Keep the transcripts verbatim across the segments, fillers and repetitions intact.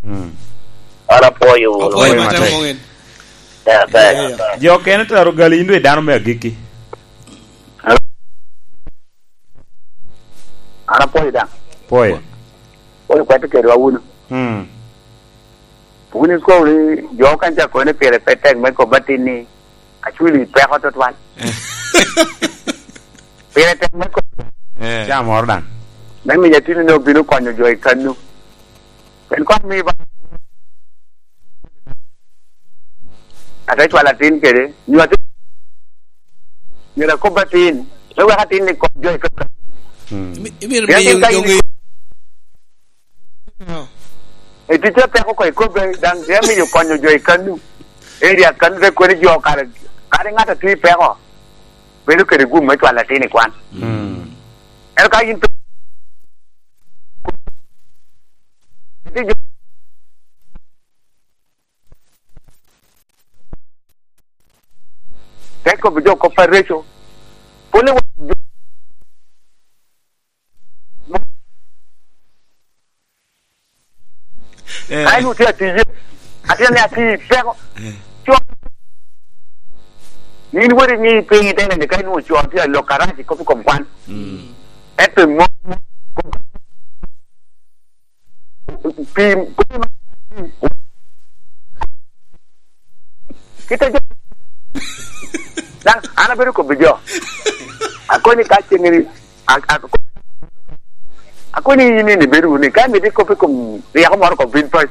Mm. An apwoyo wunu. Apwoyo matek. Matek. Mong'en. Yeah, yeah, yeah. Jo kene tero gali, in dwe dano me agikki. An apwoyo daŋ. Pwoyo. Pwoyo kwat kedwa wunu. Mm. Wun ikobo ni jo kan ca kono pire pe tek me kobba tin ni, "Acwili peko tutwal." Pire tek me kobba. Eh. Ca moro daŋ. Me miyo atino ni obino konyo jo i kannu. En kwan mi ba. Ate cwalo atin kede. Nyo atin. Myero akob atin. Me wek atin ni kony jo i kannu. Mm. Imi-, imito miyo atin ka in doŋ i-, i-, No. E ticce peko ko ikobbe, daŋ te miyo konyo jo i kannu. Area kannu te koni jo kare, kadi ŋat a tye i peko, bedo kede gum me cwalo atin i kwan. Mm. Ento ka in pe-, te kobbi jo kop areco, pwole wa-, Eh. Ka en otye atiye, atye ni ati peko. Eh. Co-, yin weri ni piny itene ni ka inwoŋo co tye alok arac i kop i kom kwan. Mm. Ento mo-, pi, kite jo, daŋ an abedo kobbi jo. Akoni ka cengeni, A-, a-, akoni yin ni bedo wunu ni, ka imito ikop i kom ryeko moro oko bin pac,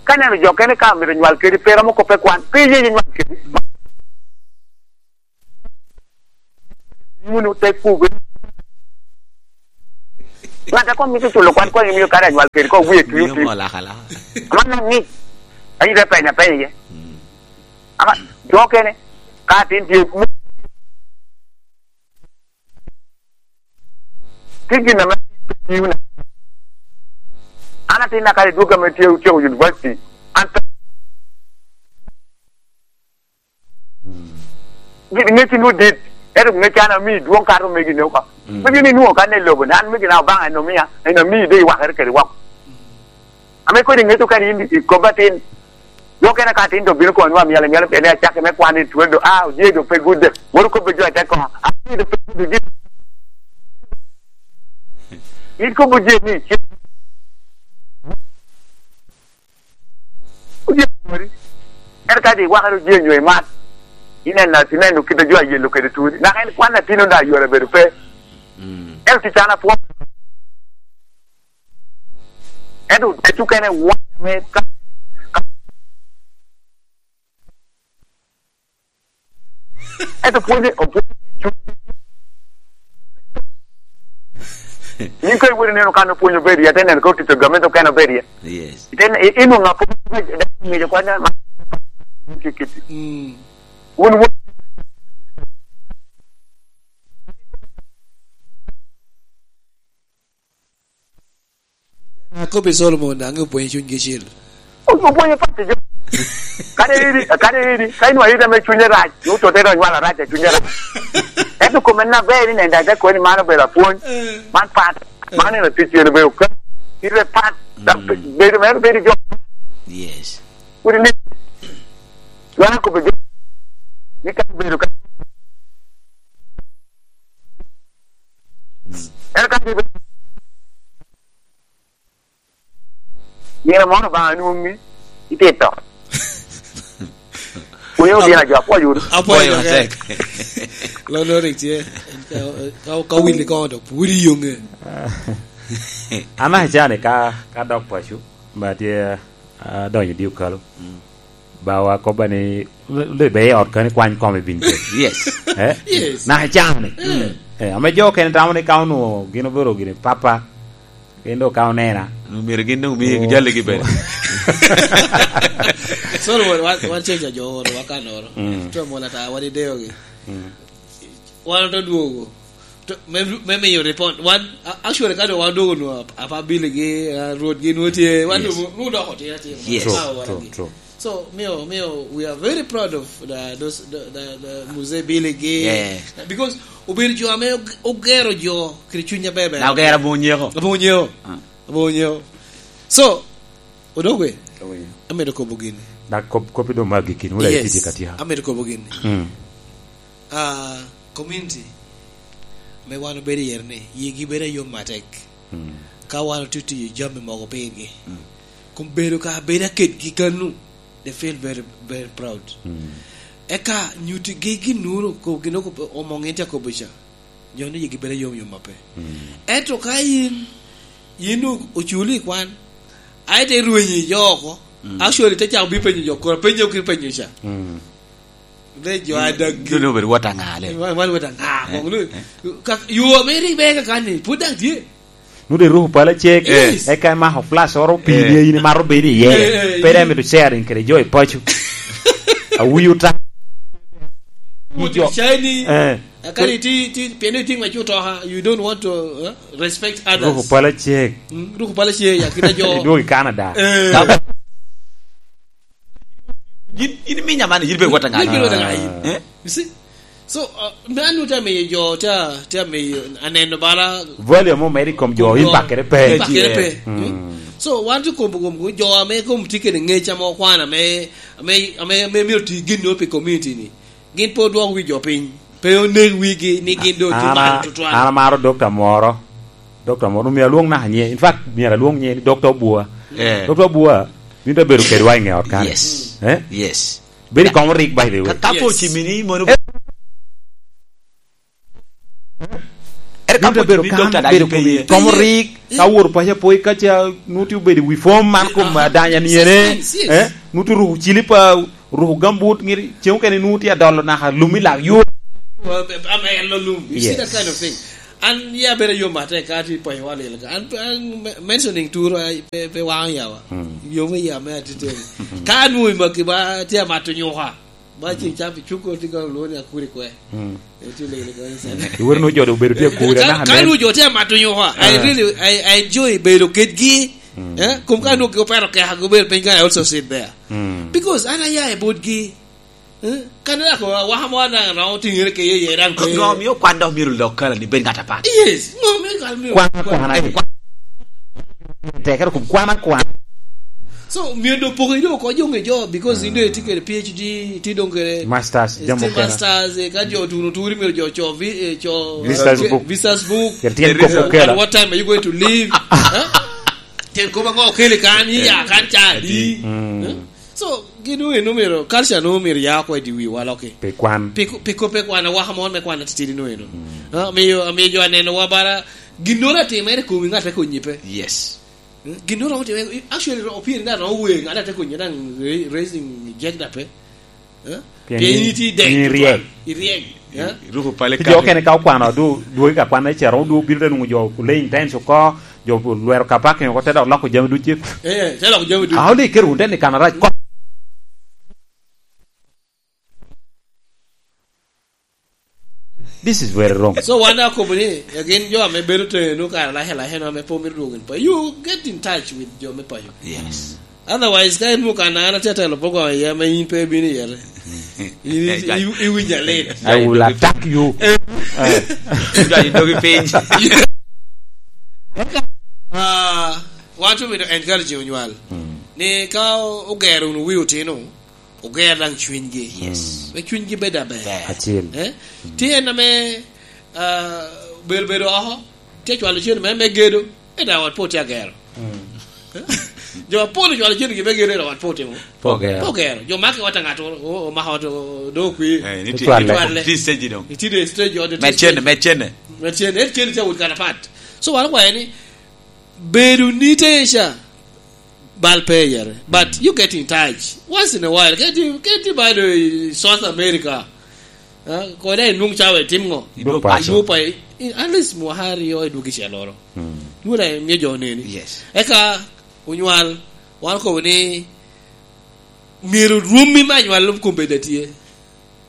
ka neno jo kene ka mito nywal kedi, pe romo koppe kwan, pe iye nywal kedi. Wunu te pube. Ŋat a koŋ mito culo kwan, koŋ imio kare anywal kedi, koŋ wie twi Miyo otwi. Mo laka laka. Aman na ŋic, ayi te penya penya iye. Mm. Ama jo kene, ka atin tye, tye gin ame tye wunu. An atinna kare dwogo ame tye otyeko university. An pe-, gin ŋecci nwoŋo dit, ento ŋecci an ami dwoŋ kato megi ne oko. Mm. Megi ni nwoŋo kan i lobo, an megi na Obaŋa en omia, en ami de iwakere kede wok. Ame kodi ŋeto kan in i kop atin, jo kene ka atin to bino kono nwa myel, myel, pien acakke me kwan i twelve, ah, oje do pe gudde. Woro kobbe jo ate kono, ah, oje do pe gudde, gin. In kobbe oje ni, oje wori. En ka di wakere oje nyo imat. Ineno, ineno kit a jo ayelo kede turi. Naka en kwan atin onda yore bedo pe. Mm. En tic an apwo. Ento, ento kene wany ame ka, ka, ento pwonye, opwonye cuny. Yin ka iwinyo neno kan opwonyo bedo iye, ate neno ka otito gamente okene obedo iye. Yes. Ite ne-, i-, inwoŋo apwony, dano oŋeco kwan ma, kit, kit. Mm. Wun wo- Akobbi Solomon, daŋ opwonyo cunygi cil. Opwonyo pat jo. Kadi iri, kadi iri, ka inwa iri ame cunye rac, ni otote dok nywalo arac a cunye rac. Ento kome na ber ni nenda te koni man obedo apwony, eh, man pat, eh, man en atic en obedo ka. Ite pat, dok, mm, bedo mere bedo jo. Yes. Kodi ni, dwara kobbe jo, ni ka obedo ka. En ka nino moro ba nwoŋi itito. Kuyo din ajo apwoyo wunu. Apwoyo matek. Lono rik tye. Ka, ka, ka wili kono to pwodi yonge. An acane ka, ka dok paco, ba tye, ah, donyo di okalo. Mm. Bawa kobba ni, "Li-, li-, be i ot kani kwany kome bin kede." Yes. Eh? Yes. Naka camo ni. Mm. Eh, ame jo okene tamo ni ka onwoŋo gin obedo gini papa, gin dok ka onena. Myero gin dok mi, oh, jalligi bene. Sorry, wan, wan, wan ceng ca jo oro, wakanoro. Mm. Twe mola ta, wan ideyogi. Mm. Wan oto dwogo. To, me, me miyo report. Wan, a-, actually, ka dong wan odwogo nwa, apa biligi, ah, rwotgi nwa tye, wan, yes, dong, nwa dok otye, atye. Yes. True, true, true. So, miyo, miyo, we are very proud of the, those, the, the, the Mzee Billy Gay. Yeah. Because obedo jo ame og-, ogero jo kede cuny aber. Na ogero aboŋo nyeko. Aboŋo nyeko. Ah. Aboŋo nyeko. So, Odok we? Owinyo. Amedo kobo gini. Dak kop-, kopi doŋ magi kin, wula Yes. ititi ka tya. Amedo kobo gini. Mm. Ah, community, me wan obedo iye ni, yigi bedo ayom atek. Mm. Ka wan otye tiyo jami mogo pirgi. Mm. Kun bedo ka bedo aketgi kanu, they feel very, very proud. Mm. Eka nyutigi gin nuro ko-, gin oko-, omoŋ en tye akobo ca. Jo ni yigi bedo yom yom ape. Mm. Ento ka yin, yin o-, oculi i kwan, aye te rwenyi jo oko, Mm. actually te cako bi penyo jo, koro penyo ki penyo ca. Mm. Le jo a dag gi. Dun obedo wot aŋa le? Wan, wan wot aŋa, Eh, kong lu-, eh. ka, yo ame rik beka kan ni, pwod daŋ tye. Nude ruku pala cek, Yes. eka imako flash oro pii Eh. ni in imaro bedo iye. Eh, eh, Pe dai eh. mito sharing kede jo i paco. Awinyo ta. Mo Jo. Shiny. Eh. Kadi ti, ti, pien iti ma cuto ha, you don't want to, eh, respect others. Ruku pala cek. Mm, ruku pala cek, ya kina jo. Idwogo i Canada. Eh. Ka- Yin, yin iminya man, yin ibedo wot aŋa? Yin ibedo wot aŋa yin? Eh? You see? So, uh, me anu te amiyo jo, te, te amiyo aneno bala Volume omedde i kom jo, kom in jo. bakere pe. In bakere pe. Mm. Mm. So, wan tye kom, kom, kom jo ame kom tye kede ngec ame okwano ame, ame, ame, ame myero ti gin no pi community ni. Gin pe odwoko wi jo piny. Pe onek wigi ni gin doŋ tye An a-, malo tutwal. an amaro doctor moro. Doctor moro, myero alwoŋ naka nyiŋe. In fact, myero alwoŋ nyiŋe ni Doctor Obua. Eh. Doctor Obua, bino te bedo kedwa i ŋe ot kan. Yes. Eh? Yes. Bedo i kom rik, by the way. Ka, ka po Yes. cimini, mono Eh. Ere ka Bino te po bedo cimini kan, doctor, bedo dai kom, pe ye. kom rik, Pe ye. ka wor paco apoy, ka ca nuti obedo i wi fom man kom Ah, adanya ni ene, yes, yes. eh? Nuti ruku cilipa, ruku gambut, ngiri, ceng okene nuti adolo naka lumi lak yo. Well, I'm a yellow loom. You see that Yes. kind of thing. An, ya bedo yo mate ka ti paco wa lil ka. An, an me-, mentioning tour, I, pe, pe wang yawa. Hmm. Yo me ya me atite. Ka nu i maki ba, ti amato nyuka. Ba ceng ca pi cuko ti ka lwoni akuri kwe. Mm. E ti lele ka ni sana. Iwero no jodo obedo tye akuri, Ka, anaka ka men. nu jo tye amato nyuka, I Ah. really, I, I enjoy bedo kedgi. Mm. Eh? Kum ka Mm. nu gi opero keka gi obedo piny ka, I also sit there. Mm. Because an aya i botgi. Eh? Kan dako waka mo na, na otingere ke ye, ye ran ke. Ngo miyo kwan dok myero lok kala ni bed ŋat apat? Yes. Ngo miyo kwan myero Kwan, kwan? kwan, ai. Tekere kum kwan, kwan. So, myero do poko ido ko jo nge jo, because in do itye kede P H D, itye dong kede Masters, eh, jam still okene. Masters, eh, ka jo tuno turi myero jo co vi-, eh, co, Visitors eh, book. Visitors book. Kede tyen There is kop a okela. At what time are you going to leave? Huh? Tyen kop ango okeli kan, iya kan ca adi? Mm. Huh? So, gin eno myero, culture no myero ya oko i di wiwa loki. Pi kwan. Pi ko-, pi kop pe kwan, awaka mon me kwan atitidi no eno. Mm. Ah, miyo, miyo jo aneno wa bara, ginnoro atimere komi ŋat te konyi pe. Yes. Hmm? Ginnoro romo timere, actually, ro-, opiri ŋat romo wer, ŋat ate konyi daŋ ra-, raising gender pe. Eh? Pien Pien in in itye dek, in iryek. Iryek. Eh? Ruko pale Ki jo kare. Okene ka okwano, du-, dwogi ka kwan ecero, du-, obino te nwoŋo jo laying times oko, jo lwero ka parking oko, te dok loko jami ducu. Eh, te loko jami ducu. Ka oli kero wun te ni kana rac, ko- This is very wrong. So wan akobo ni, eh, gin jo ame bedo tenu kare lahe lahe no ame po mito dwogo in pa. You get in touch with jo me payo. Yes. Otherwise, ka en mukana, an atye atelo program aye ame in pe ibino iye. In i-, i-, iwinyo alit. I will attack you. Eh. Eh. Dwayo dogi piny. Ah, wan tye mito encourage onywal. Mm. Ni ka o-, ogero wunu wi otino, oger daŋ cwinygi. Yes. Me cwinygi bed aber. Ber. Acel. Eh? Mm. Tye en ame, ah, bedo, bedo oko, tye cwalo cen me, me gedo, ento ot pe otye agero. Mm. Jo apol ocwalo cen gi me gedo, ento ot pe otimo. Pe ogero. Pe ogero. Jo maki ot a ŋat o-, o-, omako ot o-, do okwi. Eh, ni ti-, Itwalle. Itwalle. Ti stage dong. Iti do stage ot, ti Med cene, stage. Med cene. Med cene. Ento cene tye awot kan apat. So, wan okwayo ni, bedo ni te ca, bal pe yere. But you get in touch once in a while. Keti, keti bado i South America. Ah, kode i nung cawa itim ngo? Idwog Idwog paco. Idwog pa-, i-, at least mwaka aryo idwog i celoro. Mm. Dwon a miyo jo oneni. Yes. Eka onywal, wan kobo ni myero rwommi me anywallo kom bed atye.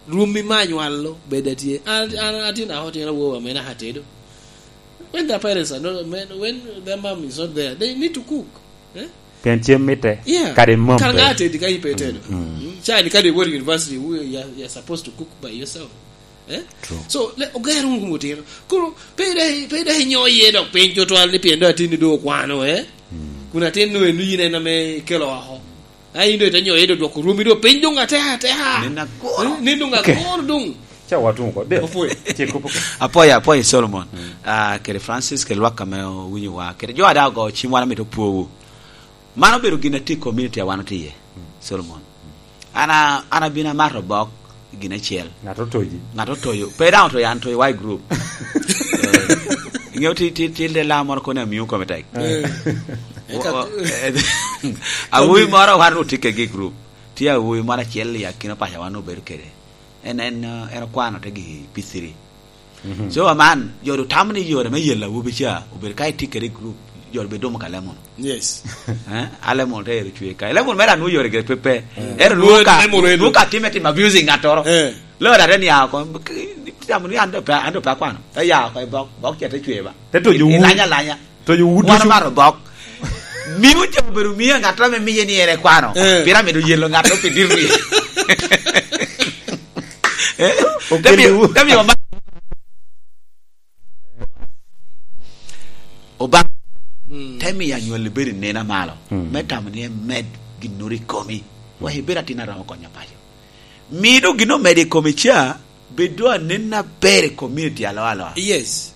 Rwommi me anywallo bed atye. An, an, atin aho tyen awowa me naka tedo. When their parents are not, when, when their mom is not there, they need to cook. Eh? Pien cem mitte, Yeah. kadi mom Kara pe. Ŋa atedi ka in pe itedo? Mm. Mm. Cani kadi iwot i university, you are, you are supposed to cook by yourself. Eh? True. So, le, oger wunu kom otino. Koro, pe dai, pe dai inyo iye dok piny tutwal ni pien dong atini dong okwano, eh? Mm. Kun atin nu enu yin en ame ikelo oko. A yin doŋ ite nyoyo, doŋ dwoko rwomi doŋ piny doŋ ateka ateka. Nen agoro. Eh, nen doŋ Ok. agoro doŋ. Ca watuŋ oko. De. Opwoyo. Ce kop oko. Apwoyo, apwoyo Solomon. Mm. Ah, kede Francis, kede lwak ame owinyo wa. Kede jo a daŋ ogo cim wan amito pwowu. Man obedo gin atye i community a wan otye iye, Solomon. An a-, an abino amato bok i gin acel. Ŋat otoyi. Ŋat otoyo. Pe daŋ otoyo, an otoyo wa i group. Eh, iŋeo ti, ti, ti, ti lam moro kono amio kome tek. Eh. Wo-, eh, awobi moro wan otye kede i group. Tye awobi moro acel i akina paco wan obedo kede. En, en, eh, en okwano te gi P three. Mhm. So, aman, jo du tamo ni yore me yelo awobi ca, obedo ka itye kede i group, jo du bedo dumo ka lemon. Yes. Eh? A lemon te ero cwe ka. Lemon mere anwo yore gire pe pe. Mm. Ero nwo ka, lemon ero. Nwo ka time tim abusing ŋattoro. Eh. Lora te nia oko, tamo ni an do pe, an do pe akwano. Te ya oko i bok, bok ce te cwe ba. Te tojo I-, wu. Ilanya lanya. To jo wut Wan ducu. Omaro bok. Mio jo obedo mio ŋat ame miye ni ere kwano. Eh. Pira medo yelo ŋat pi diro ni. Eh? Okelo Te mio, wu. Te mio ma-, Obaŋa. Mm. Te mio anywalli bedo i nena malo. Mm. Me tamo ni emed ginnoro i komi. Wek ibed atin a romo konyo paco. Mido gin omedo i kome ca, bedo anen aber i community alo alo. Yes.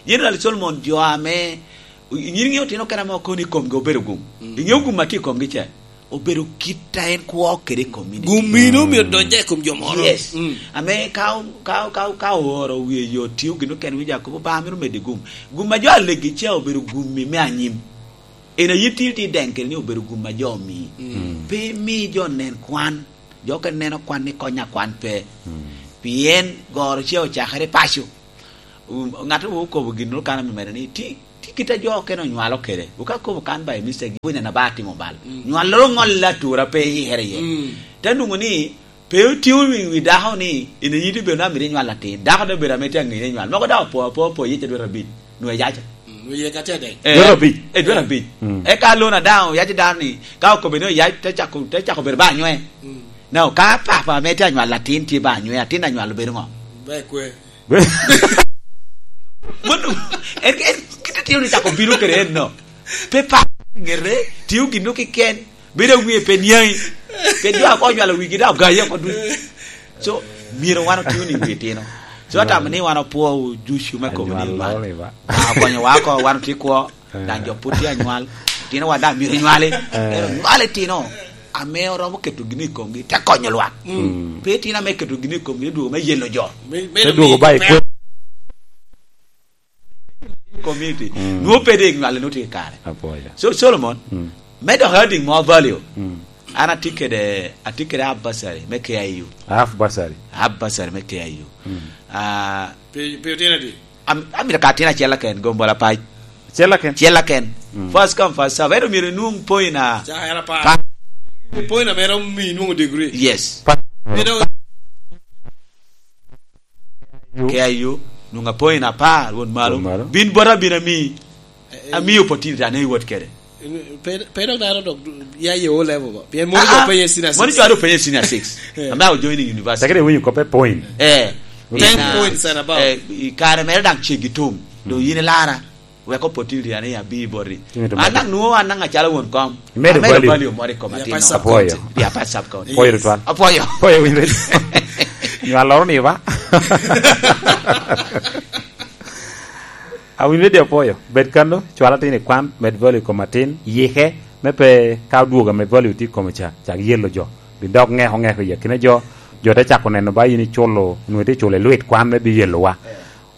General Solomon, jo ame, nyin ŋeo otino kena mo kono i komgi obedo gum. Mm. Iŋeo gum atye i komgi ca, obedo kit a en kwo kede i community. Gum mino Mm. omio donyo i kom jo moro. Yes. Mm. Ame ka, ka, ka, ka ooro wie yo tio gin okene winyo akobo, ba mino medo i gum. Gum a jo alegi ca obedo gum me anyim. En aye tye, tye deŋ kede ni obedo gum a jo omii. Mm. Pe imi jo nen kwan. Jo okene neno kwan ni kony akwan pe. Mm. Pien goro ce ocakere i paco. Um, ŋat okobo gin kan ame mere ni, ti, ti kit a jo okene onywalo kede. Oka kobo kan by mistake, gi wene na ba timo bal. Mm. Nywaloro ŋolle atura pe i here ye. Mm. Te nwoŋo ni, pe otio wi, wi dako ni, in iyiti bedo na mito inywal atin. Dako de bedo ame tye aŋeye inywal. Mogo daŋ opo, opo, opo, yece dwe abic. Nwe yaca. Mm, nwe yeka tede. Eh, Dwe abic. Eh, dwe abic. Mm. Eka lona daŋ oyac dano ni, ka okobe ni oyac, te cako, te cako bedo ba anywe. Mm. Now, ka papa ame tye anywalo atin tye ba anywe, atin anywalo bedo ŋo? Ba ekwe. Mano, en, en, kite tio ni cako bino kede en no. Pe pa ŋete, tio gin no kiken. Bedo awie pe niaŋi. Pe jo ako nywalo wigi daŋ ogaye oko duc. So, myero wan otio ni wi tino. So, atamo ni wan opwo ducu me kobo ni Anywal man. Lolo ni ba. Ah, okonyo wa oko, wan otye kwo. Eh. Daŋ jo pwod tye anywal. Tino wa daŋ myero nywali. Eh. Ero nywali tino. Ame oromo keto gini i komgi, te konyo lwak. Mm. Pe tino ame keto gini i komgi, te dwogo me yelo jo. Me-, Te dwogo ba i kwe. Community. Mm. Nwo pe de nywal no tye kare. Apwoyo. So, Solomon, Mm. me dok adding more value. Mm. An atye kede, atye kede half bursary me K I U. Half bursary. Half bursary me K I U. Mm. Ah, Pe, pe otino adi? Am-, amito ka atin acel aken, gombo lapac. Acel aken? Acel aken. Mm. First come, first serve. Ento myero inwong point a Ca era pa. Pa. Point a mera omi inwongo degree. Yes. Pa. Ento K I U, nwoŋo apoyi na apar, won malo. Won malo. Bin bota bin ami, Eh, eh. Ami opportunity ane iwot kede. Pe, pe dok dano dok ya ye O level ba. Pien mono Ah, jo ah. Penye senior Mono six. Jo ado penye senior six. Eh. Ame awo joining university. Tekere winyo kope point. Eh. Ten In, ah, points and above. Eh, i kare mere dang ceggi tum. Do Mm. Yin ilara. Wek opportunity ane abi boti. Timo ito An mito. Dang nwoŋo an dang acalo won kom. Imedo Amedo value. Value moro i kom Ria atino. Pac sub Apoyo. County. Ria Pac sub county. Apoyo Yes. Tutwal. Apoyo. Apoyo, winyo. Nywaloro ni ba? Awinyo di apoyo. Bed kano, cwal atin i kwan, med value i kom atin, yike, me pe ka odwogo ame value tye i kome ca, cak yelo jo. Bin dok ŋeko ŋeko i akina jo, jo te cako neno ba in iculo, nwoŋo itye culo i lwit kwan me bi yelowa.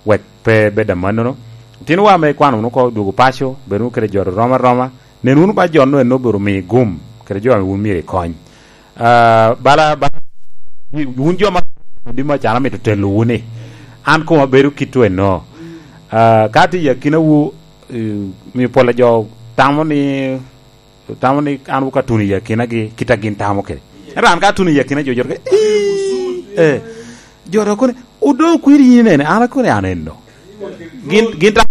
Wek pe bed amannono. Otinowa ame ikwano wunu oko dwogo paco, bed wunu kede jo rom aroma. Nen wunu ba jo-nu en obedo omi gum, kede jo ame wun myero ikony. Ah, bala, bala, wun jo ma, di ma can amito telo wunu ni, an koma bedo kit eno. Ah, ka tye i akinawu, eh, mi pol a jo tamo ni, tamo ni an wuka tuno i akinagi, kit a gin tamo kede. Ento an ka atuno i akina jo, jo, eh, jo dok kono, "Odo kwiri yin nene, an akono an eno." Gin, gin ta-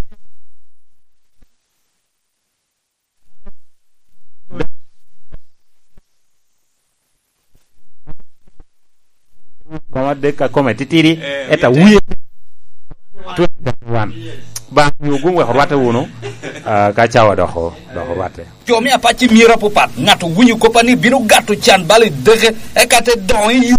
Koma dek a kome titidi, eh, eta wie twenty twenty-one. Ba mi ogun wek orwatte wunu, ah, ka cawa doko, doko Patte. Jo me apac i myero apapat, ŋat owinyo koppa ni bino gato can bala i deke, eka te doŋo i yo